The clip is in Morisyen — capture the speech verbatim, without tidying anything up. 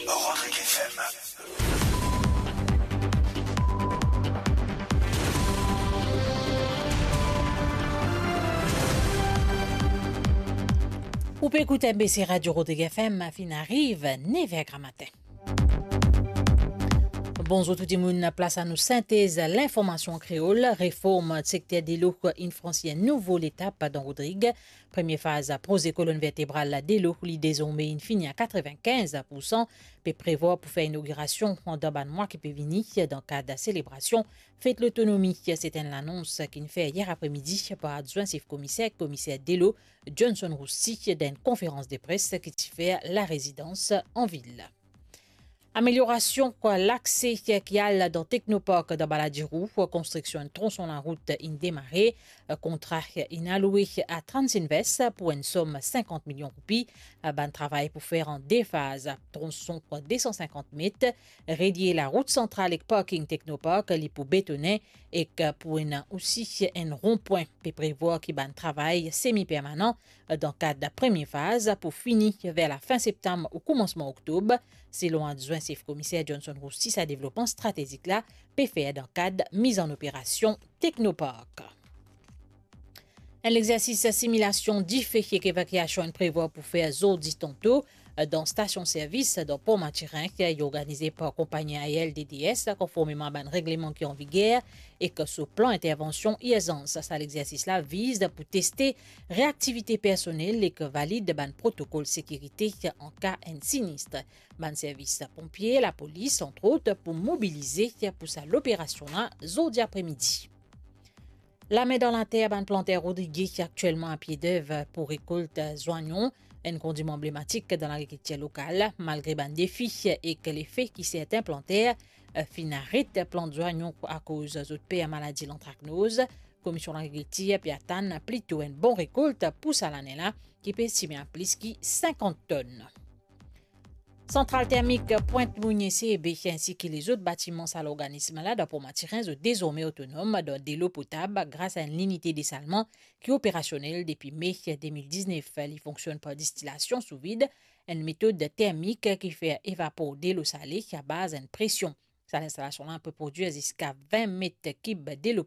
Rodrigue F M. Ou pe ekout M B C Radio Rodrigue F M, finn ariv nev er gramatin. Bonzour tou dimoun, plas a nou sintez linformasion kreol. Reform sekter delo inn fransi enn nouvo letap dan Rodrig. Premie faz proze kolonn vertebral delo, li dezorme inn fini a katrevinkinz poursan. Pe prevwar pou fer inogirasion dan bann mwa ki pe vini dan kad selebrasion Fet Lotonomi. Se enn lanons ki'nn fer yer apremidi par adwin sef komiser, komiser delo Johnson Roussy dan enn konferans de pres ki ti fer larezidan anvil. Ameliorasion lakse ki al dan Teknopark dan Baladiro, konstriksion enn tronson larout inn demare. Kontra inn aloue a Transinvest pou enn som sinkant milion roupi. Bann travay pou fer an de faz, tronson de san sinkant met, relie larout santral ek parking Teknopark, li pou betonen ek pou ena osi enn ronpwin. Pe prevwar ki bann travay semi permanan dan kad premie faz pou fini ver lafin septam ou koumansman oktob. Selon adwin sef komiser Johnson Roussy, sa devlopman stratezik la pe fer dan kad miz an operasion Teknopark. Enn lexersis similasion dife ek evakiasion inn prevwar pou fer zordi tanto dan stasion servis dan Por Mathurin, ki organize par konpagni aeriel D D S, konformeman a bann regleman ki an viger, ek so plan intervansion irzans. Sa lexersis la viz pou teste reaktivite personel ek valid bann protokol sekirite an ka enn sinist. Bann servis ponpie, lapolis, antrot, pou mobilize pou sa loperasion la zordi apremidi. Lame dan later, bann planter rodrige ki aktielman a pie dev pou rekolt zwayon, enn kondiman anblematik dan lagrikiltir lokal. Malgre bann defi ek lefe ki sertin planter finn aret plant zwayon akoz zot per maladi lantraknoz, Komisyon Lagrikiltir pe atann plito enn bon rekolt pou sa lane la, ki pe estime a plis ki sinkant tonn. Santral termik Pwint Monie C E B, ensi ki lezot batiman sa lorganism la dan Port Mathurin, zot dezorme otonom dan delo potab gras a enn linite desalman ki operasionel depi me de mil diznef. Li fonksionn par distilasion sou vid, enn metod termik ki fer evapor delo sale a baz enn presion. Sa linstalasion la pe prodwir ziska vin met kib delo